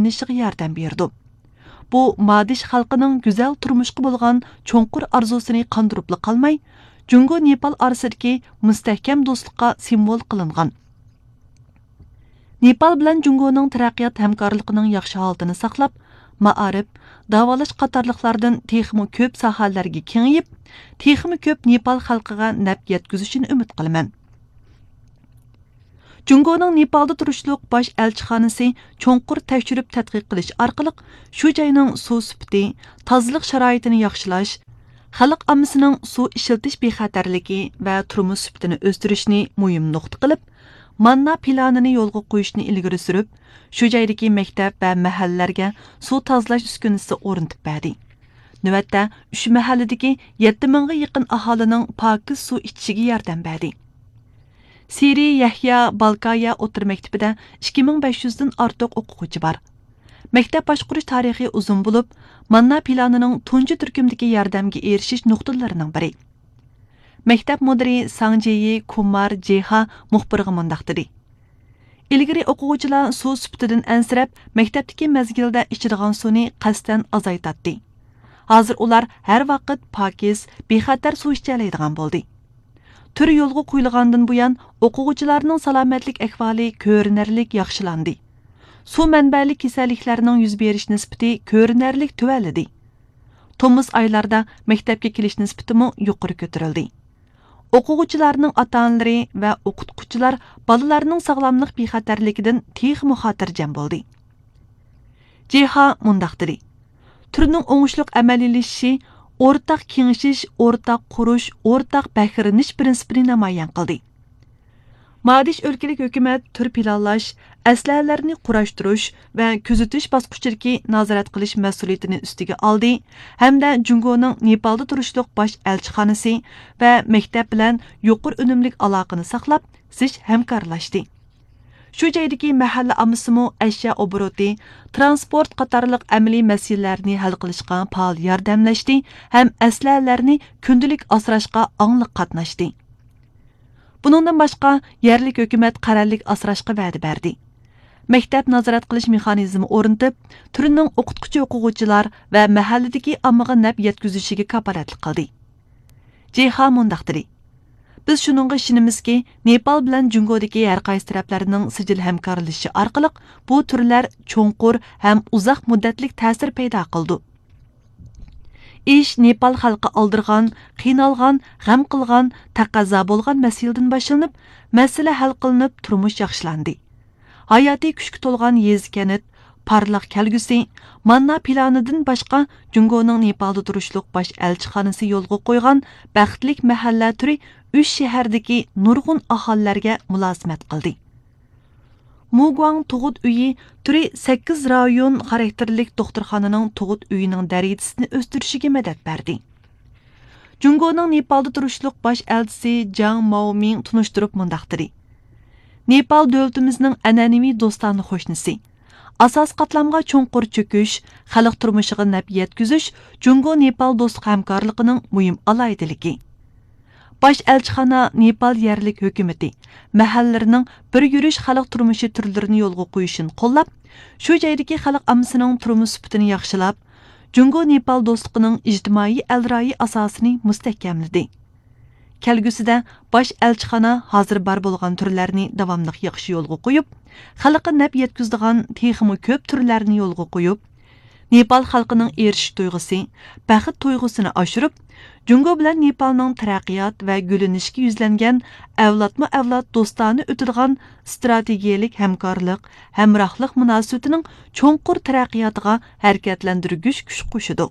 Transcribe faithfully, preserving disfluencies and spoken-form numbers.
ياخشىلىنىشىغا ياردەم بېرىدۇ. بۇ مادىش خەلقىنىڭ گۈزەل تۇرمۇشقا بولغان چوڭقۇر ئارزۇسىنى قاندۇرۇپلا قالماي، جۇڭگو نېپال ئارىسىدىكى مۇستەھكەم دوستلۇققا سىمۋول قىلىنغان. نېپال بىلەن جۇڭگونىڭ تەرەققىيات ھەمكارلىقىنىڭ ياخشى ھالىتىنى ساقلاپ، مائارىپ، داۋالاش قاتارلىقلاردىن تېخىمۇ كۆپ ساھەلەرگە كېڭىيىپ، تېخىمۇ كۆپ نېپال خەلقىگە نەپ يەتكۈزۈشىنى ئۈمىد قىلىمەن. جۇڭگونىڭ نېپالدا تۇرۇشلۇق باش ئەلچىخانىسى چوڭقۇر تەكشۈرۈپ تەتقىق قىلىش ئارقىلىق شۇ جاينىڭ سۇ سۈپىتى، تازىلىق شارائىتىنى ياخشىلاش، خەلق ئاممىسىنىڭ سۇ ئىشلىتىش بىخەتەرلىكى ۋە تۇرمۇش سۈپىتىنى ئۆستۈرۈشنى مۇھىم نۇقتا قىلىپ، ماننا پىلانىنى يولغا قويۇشنى ئىلگىرى سۈرۈپ، شۇ جايدىكى مەكتەپ ۋە مەھەللىلەرگە سۇ تازىلاش ئۈسكۈنىسى ئورنىتىپ بەردى. نۆۋەتتە، ئۈچ مەھەللىدىكى يەتتە مىڭغا يېقىن ئاھالىنىڭ پاكىز سۇ ئىچىشىگە ياردەم بەردى. سىرى يەھيا بالكايا ئوتتۇرا مەكتىپىدە ئىككى مىڭ بەش يۈزدىن ئارتۇق ئوقۇغۇچى بار. مەكتەپ باشقۇرۇش تارىخى ئۇزۇن بولۇپ، ماننا پىلانىنىڭ تۇنجى تۈركۈمدىكى ياردەمگە ئېرىشىش نۇقتىلىرىنىڭ بىرى. مەكتەپ مۇدىرى ساڭ جيې كۇمار جېھا مۇخبىرغا مۇنداق دېدى: ئىلگىرى ئوقۇغۇچىلار سۇ سۈپىتىدىن ئەنسىرەپ، مەكتەپتىكى مەزگىلدە ئىچىدىغان سۇنى قەستەن ئازايتاتتى. ھازىر ئۇلار ھەر ۋاقىت پاكىز، بىخەتەر سۇ ئىچەلەيدىغان بولدى. تۈر يولغا قويۇلغاندىن بۇيان، ئوقۇغۇچىلارنىڭ سالامەتلىك ئەھۋالى كۆرۈنەرلىك ياخشىلاندى. سۇ مەنبەلىك كېسەللىكلەرنىڭ يۈز بېرىش نىسبىتى كۆرۈنەرلىك تۆۋەنلىدى. تومۇز ئايلاردا مەكتەپكە كېلىش نىسبىتىمۇ يۇقىرى كۆتۈرۈلدى. ئوقۇغۇچىلارنىڭ ئاتا-ئانىلىرى ۋە ئوقۇتقۇچىلار بالىلارنىڭ ساغلاملىق بىخەتەرلىكىدىن تېخىمۇ خاتىرجەم بولدى. جېھا مۇنداق دېدى: تۈرنىڭ ئوڭۇشلۇق ئەمەلىيلىشىشى ئورتاق كېڭىشىش، ئورتاق قۇرۇش، ئورتاق بەھرىلىنىش پىرىنسىپىنى نامايان قىلدى. مادىش ئۆلكىلىك ھۆكۈمەت تۈر پىلانلاش، ئەسلىھەلەرنى قۇراشتۇرۇش ۋە كۆزىتىش باسقۇچىدىكى نازارەت قىلىش مەسئۇلىيىتىنى ئۈستىگە ئالدى ھەمدە جۇڭگونىڭ نېپالدا تۇرۇشلۇق باش ئەلچىخانىسى ۋە مەكتەپ بىلەن يۇقىرى ئۈنۈملۈك ئالاقىنى ساقلاپ، زىچ ھەمكارلاشتى. شۇ جايدىكى مەھەللە ئاممىسىمۇ ئەشيا ئوبوروتى، ترانسپورت قاتارلىق ئەمەلىي مەسىلىلەرنى ھەل قىلىشقا پائال ياردەملەشتى ھەم ئەسلىھەلەرنى كۈندىلىك ئاسراشقا ئاڭلىق قاتناشتى. بۇنىڭدىن باشقا، يەرلىك ھۆكۈمەت قەرەللىك ئاسراشقا ۋەدە بەردى. مەكتەپ نازارەت قىلىش مېخانىزمى ئورنىتىپ، تۈرنىڭ ئوقۇتقۇچى ئوقۇغۇچىلار ۋە مەھەللىدىكى ئاممىغا نەپ يەتكۈزۈشىگە كاپالەتلىك قىلدى. جېھا مۇنداق دېدى: بىز شۇنىڭغا ئىشىنىمىزكى، نېپال بىلەن جۇڭگودىكى ھەر قايسى تەرەپلەرنىڭ سىجىل ھەمكارلىشىشى ئارقىلىق بۇ تۈرلەر چوڭقۇر ھەم ئۇزاق مۇددەتلىك تەسىر پەيدا قىلىدۇ. ئىش نېپال خەلقى ئالدىرىغان، قىينالغان، غەم قىلغان، تەقەززا بولغان مەسىلىدىن باشلىنىپ، مەسىلە ھەل قىلىنىپ، تۇرمۇش ياخشىلاندى. ھاياتىي كۈچكە تولغان يېزا-كەنت، پارلاق كەلگۈسى، ماننا پىلانىدىن باشقا، جۇڭگونىڭ نېپالدا تۇرۇشلۇق باش ئەلچىخانىسى يولغا قويغان بەختلىك مەھەللە تۈرى ئۈچ شەھەردىكى نۇرغۇن ئاھالىلەرگە مۇلازىمەت قىلدى. مۇگۇاڭ تۇغۇت ئۆيى تۈرى سەككىز رايون خاراكتېرلىك دوختۇرخانىنىڭ تۇغۇت ئۆيىنىڭ دەرىجىسىنى ئۆستۈرۈشىگە مەدەت بەردى. جۇڭگونىڭ نېپالدا تۇرۇشلۇق باش ئەلچىسى جاڭ ماۋمىڭ تونۇشتۇرۇپ مۇنداق دېدى: نېپال دۆلىتىمىزنىڭ ئەنئەنىۋى دوستانە قوشنىسى. ئاساسىي قاتلامغا چوڭقۇر چۆكۈش، خەلق تۇرمۇشىغا نەپ يەتكۈزۈش جۇڭگو نېپال دوستلۇق ھەمكارلىقىنىڭ مۇھىم ئالاھىدىلىكى. باش ئەلچىخانا نېپال يەرلىك ھۆكۈمىتى، مەھەللىلىرىنىڭ بىر يۈرۈش خەلق تۇرمۇشى تۈرلىرىنى يولغا قويۇشىنى قوللاپ، شۇ جايدىكى خەلق ئاممىسىنىڭ تۇرمۇش سۈپىتىنى ياخشىلاپ، جۇڭگو نېپال دوستلۇقىنىڭ ئىجتىمائىي ئەلرايى ئاساسىنى مۇستەھكەملىدى. كەلگۈسىدە باش ئەلچىخانا ھازىر بار بولغان تۈرلەرنى داۋاملىق ياخشى يولغا قويۇپ، خەلققە نەپ يەتكۈزىدىغان تېخىمۇ كۆپ تۈرلەرنى يولغا قويۇپ، نېپال خەلقىنىڭ ئېرىشىش تۇيغۇسى، بەخت تۇيغۇسىنى ئاشۇرۇپ، جۇڭگو بىلەن نېپالنىڭ تەرەققىيات ۋە گۈللىنىشكە يۈزلەنگەن ئەۋلادمۇ ئەۋلاد دوستانە ئۆتىدىغان ئىستراتېگىيەلىك ھەمكارلىق، ھەمراھلىق مۇناسىۋىتىنىڭ چوڭقۇر تەرەققىياتىغا ھەرىكەتلەندۈرگۈچ كۈچ قوشىدۇ.